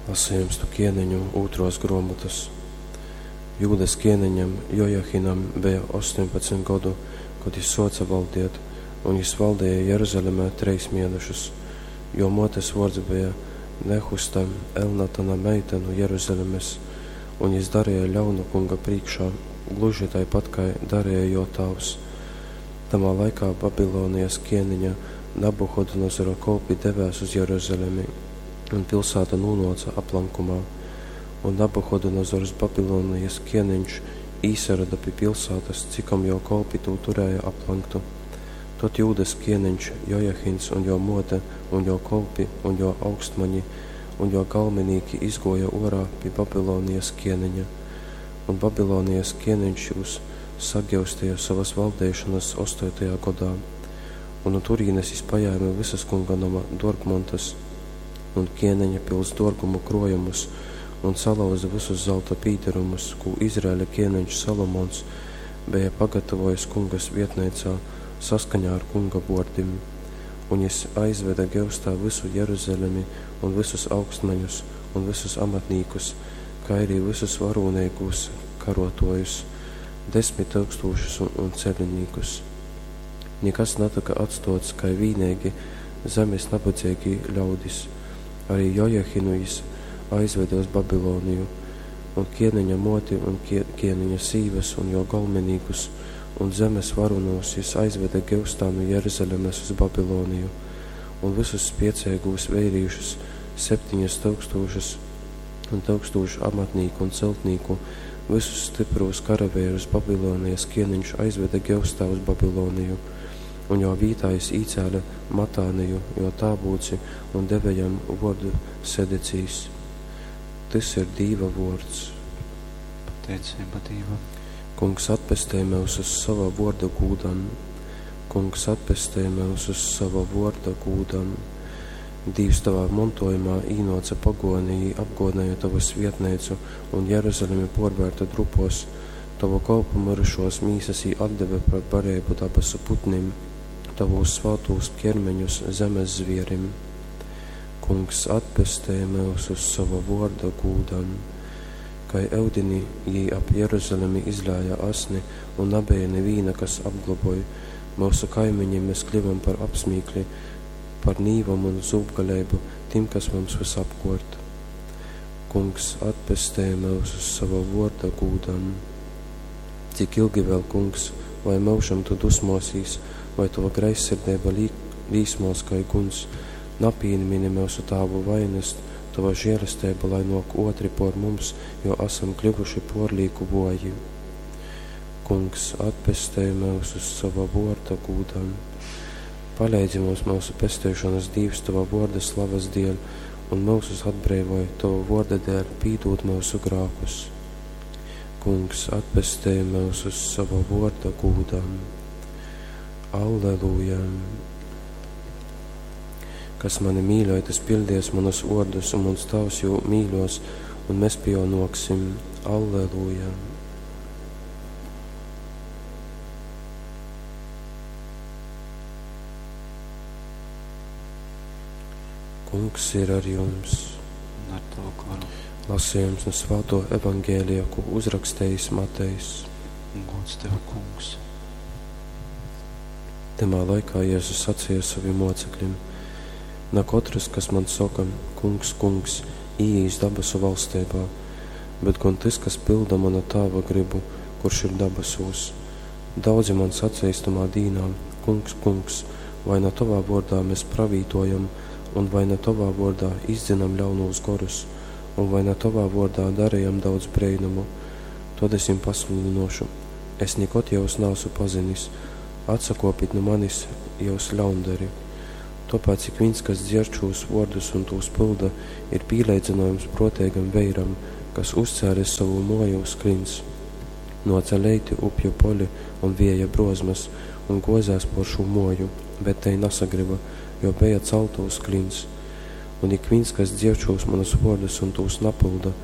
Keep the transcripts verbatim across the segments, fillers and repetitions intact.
Lasījums nu ķieniņu ūtros gruomotas. Jūdas ķieniņam Jojahinam beja ostoņpadsmit godu, kod jis suoce valdiet, un jis valdēja Jeruzalemē treis mienešus. Juo muotes vuords beja Nehusta, Elnatana meita nu Jeruzalemes, un jis darēja ļaunu Kunga prīškā, gluži taipat kai darēja juo tāvs. Tamā laikā Babilonijas ķieniņa Nabuhodonozora kolpi devēs uz Jeruzalemi, un pilsēta nūnuoca aplankumā. Un Nabuhodonozors Babilonijas ķieniņš īsaroda pi pilsētas, cikom juo kolpi tū turēja aplanktu. Tod Jūdas ķieniņš Jojahins un juo muote un juo kolpi un juo augstmaņi un juo galminīki izguoja uorā pi Babilonijas ķieniņa. Un Babilonijas ķieniņš jūs sagiustīja sovas valdeišonas ostotajā godā. Un no turīnes jis pajēma visas kunga noma duorgmontas un ķieniņa pils duorgumu kruojumus un salauza visus zelta pīderumus, kū Izraēļa ķieniņš Salomons beja pagatavojis kungas vietneicā saskaņā ar kunga vuordim. Un jis aizveda geustā visu Jeruzalemi un visus augstmaņus un visus amatnīkus, kā arī visus varūneigūs karotojus, desmit tūkstošus un, un ceļinīkus. Nikas natyka atstots, kai vīneigi zemes nabadzeigī ļaudis. Arī Jojahinu jis aizveda uz Babiloniju, un ķieniņa muoti un kie, ķieniņa sīvas un jo galminīkus un zemes varonos jis aizveda geustā nu Jeruzalemes uz Babiloniju, un visus spieceigūs veirīšus, septiņas tūkstošas un tūkstošu amatnīku un celtnīku, visus stiprūs karavērus Babilonijas ķieniņš aizveda geustā uz Babiloniju, un jo vītā jis īcēle Matāniju, jo tābūci, un deve jam vuordu Sedecīs. Tys ir Dīva vuords. Pateiceiba Dīvam. Kungs atpestej myusus sova vuorda gūdam. Kungs atpestej myusus sova vuorda gūdam. Dīvs tavā montojumā īnoca pagoni, jī apgodnēja tavu svietneicu un Jeruzalemi puorvērta drupos, tavu kolpu myrušos mīsas jī atdeve par bareibu dabasu putnim, tavūs svātūs ķermeņus zemes zvierim. Kungs atpestej myusus sova vuorda gūdam. Kai eudini jī ap Jeruzalemi izlēja asni un nabeja nivīna, kas apgloboj. Myusu kaimiņim mēs kļuvam par apsmīkli, par nīvam un zūbgaleibu tim, kas mums visapkort. Kungs atpestej myusus sova vuorda gūdam. Cik ilgi vēl, kungs, vai myužam tu dusmosīs, vai tava greizsirdība lī, līsmos kai guns, napīmini myusu tāvu vainas, tava žēlestība, lai nok otri por mums, jo esam kļuvuši porlīku voji. Kungs, atpestej myusus sova vorda gūdam. Paleidzi mums mūsu pesteišanas Dīvs tava vorda slavas dēļ, un mūsus atbreivoj tava vorda dēļ, pīdūt mūsu grākus. Kungs, atpestej myusus sava vorda gūdam. Alleluja! Kas mani mīļoj, tas pildies manus vārdus, un mans tavs jū mīļos, un mēs pie jo noksim. Alleluja! Kungs ir ar jums. Un ar tavu goru. Lasījums no Svāto evangēlija, ko uzrakstījis Matejs. Gods tev, kungs. Tamā laikā Jēzus sacīja saviem mocekļiem: Na katrs, kas man saka, kungs, kungs, īīs dabasu valstībā, bet gan tas, kas pilda mana tāva gribu, kurš ir dabasūs. Daudzi man sacīs tamā dīnā, kungs, kungs, vai na tavā vordā mēs pravītojam, un vai na tavā vordā izdzinam ļaunūs gorus, un vai na tavā vordā darījam daudz breinumu, tad es jums pasludinošu, es nekad jūs neesmu pazinis, atsakopit no manis, jūs ļaundari. Tāpēc ik viens, kas dzird šos vārdus un tos pilda, ir pīleidzinājums protēgam veiram, kas uzcēlis savu moju uz klints. Noca leiti upju poli un vieja brozmas un gozās por šo moju, bet tei nasagriba, jo beja celta uz klints. Un ik viens, kas dzird šos manus vārdus un tos napilda,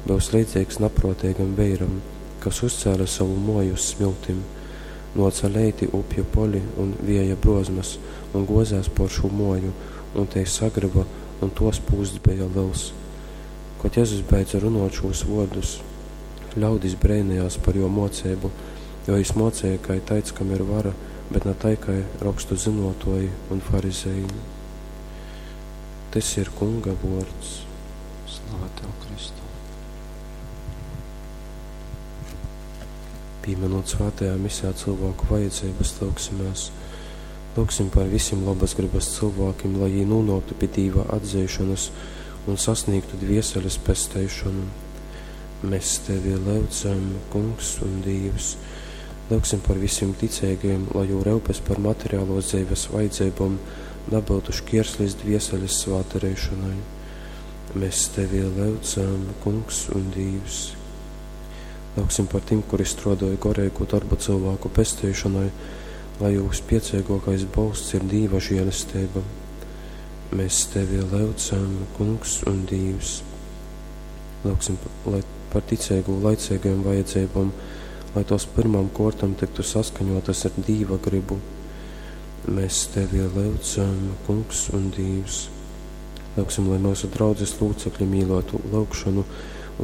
būs līdzīgs naprotēgam veiram, kas uzcēla savu moju uz smiltim. Noca leiti upju poli un vieja brozmas un gozās por šo moju, un tei sagriba, un tos pūsts beja liels. Kod Jezus beidza runot šūs vuordus, ļaudis breinejās par juo muoceibu, jo jis muoceja kai taids, kam ir vara, bet na tai kai rokstu zynuotuoji un farizeji. Tys ir Kunga vuords. Slava Tev, Kristu! Pīminot svētajā misē cilvēku vajadzības, lūgsimies. Lūgsim par visiem labas gribas cilvēkiem, lai jī nonāktu pie Dīva atzeišanas un sasniegtu dvieseles pesteišanu. Mēs Tevi lūdzam, Kungs un Dievs. Lūgsim par visiem ticīgajiem, lai jū rūpes par materiālo dzīves vajadzībām nebūtu šķierslis dvieseles svāterēšanai. Mēs Tevi lūdzam, Kungs un Dievs. Lūgsim par tiem, kuri strādāja gorēgo darbu cilvēku pestīšanai, lai jūsu spiecīgākais bolsts ir Dīva žēlastība. Mēs Tevi lūdzam, Kungs un Dievs. Lūgsim, lai par ticīgu laicīgajām vajadzībām, lai tos pirmām kortam tiktu saskaņotas ar Dīva gribu. Mēs Tevi lūdzam, Kungs un Dievs. Lūgsim, lai mūsu draudzes locekļi mīlotu lūgšanu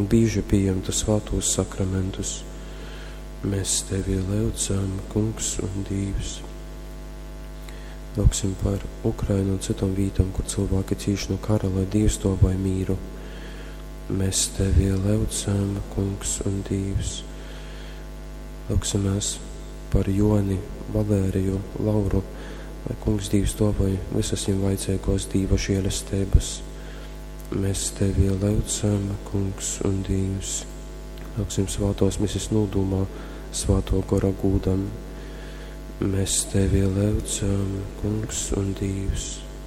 un bieži pieņemtu svētos sakramentus. Mēs Tevi lūdzam, Kungs un Dievs. Lūgsim par Ukrainu un citām vietām, kur cilvēki cīš no kara, lai Dievs dāvāj mīru. Mēs Tevi lūdzam, Kungs un Dievs. Lūgsimies par Joni, Valēriju, Lauru, lai Kungs Dievs dāvāj visas viņiem vajadzīgos Dieva žēlastības. Mēs Tevi lūdzam, Kungs un Dievs. Lūgsim svētos mises nūdumā, svēto gora gūdam. Mēs Tevi lūdzam, Kungs un Dievs.